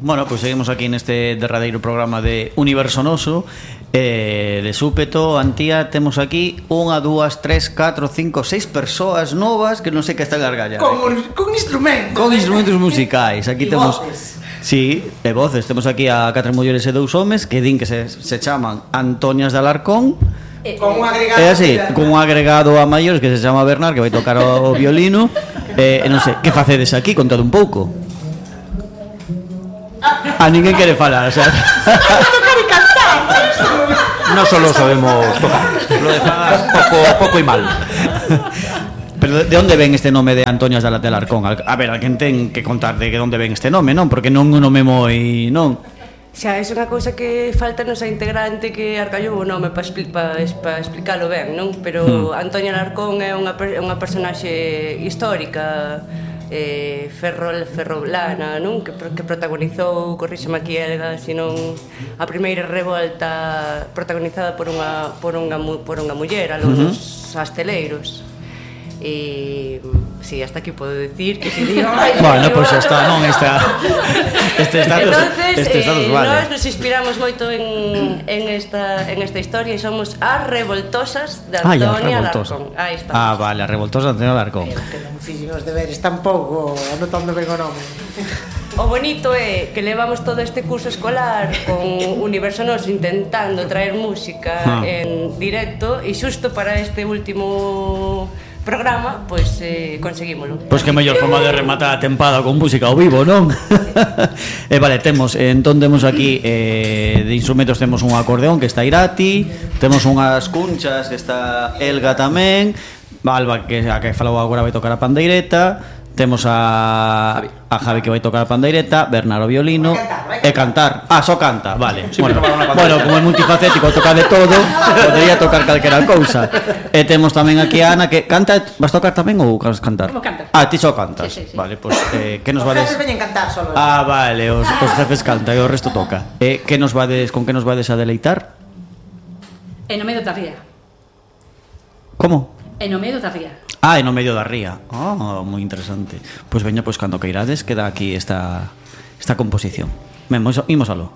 Bueno, pois seguimos aquí neste derradeiro programa de Universo Noso. De súpeto, Antía, temos aquí 1, 2, 3, 4, 5, 6 persoas novas que non sei que están gargallas. Con instrumentos. Con instrumentos musicais. Aquí e temos voces. Sí, e voces. Temos aquí a 4 mulleres e 2 homes que din que se chaman Antonias de Alarcón. Con un agregado. É así, con un agregado a maiores que se chama Bernard, que vai tocar o violino. E non sei, que facedes aquí? Contade un pouco. A ninguén quere falar, o sea. Tocar e cantar. No solo sabemos tocar, lo demás poco y mal. Pero de onde ven este nome de Antonias de Alarcón? A ver, alguén ten que contar de onde ven este nome, non? Porque non é un nome moi, non? Xa, é unha cousa que falta nosa integrante que arcallou o nome para explicalo ben, non? Pero Antonia Alarcón é unha personaxe histórica, ferrolana, non? Que protagonizou, corríxeme aquí Elga, senón a primeira revolta protagonizada por unha muller, a los asteleiros. E si, hasta aquí podo decir que se digo. Bueno, pois xa está, non está. Este status vale. Nós nos inspiramos moito en esta historia e somos as revoltosas de Antonia Alarcón. Aí está. Ah, vale, as revoltosas de Antonia Alarcón. Que non fixen os deberes tampouco, anotando ben o nome. O bonito é que levamos todo este curso escolar con Universo Noso intentando traer música en directo e xusto para este último programa, pois conseguímolo. Pois que mellor forma de rematar a tempada con música ao vivo, non? Vale, temos aquí de instrumentos temos un acordeón que está Irati, temos unhas cunchas que está Elga tamén, Alba que a que falou agora vai tocar a pandeireta. Temos a Javi que vai tocar a pandeireta, Bernardo violino e cantar. Ah, só canta, vale. Bueno, como é multifacético, toca de todo, podería tocar calquera cousa. E temos tamén aquí a Ana que canta. Vas tocar tamén ou vas cantar? Vou cantar. Ah, ti só cantas. Sí. Vale, pois que nos Os vades? jefes veñen cantar solo. Ah, vale, os jefes cantan e o resto toca. Que nos vades, con que nos vades a deleitar? E no medio da ría. Como? E no medio da ría. Ah, e no medio da ría. Ah, moi interesante. Pois veña, pois cando queirades queda aquí esta composición. Imos aló.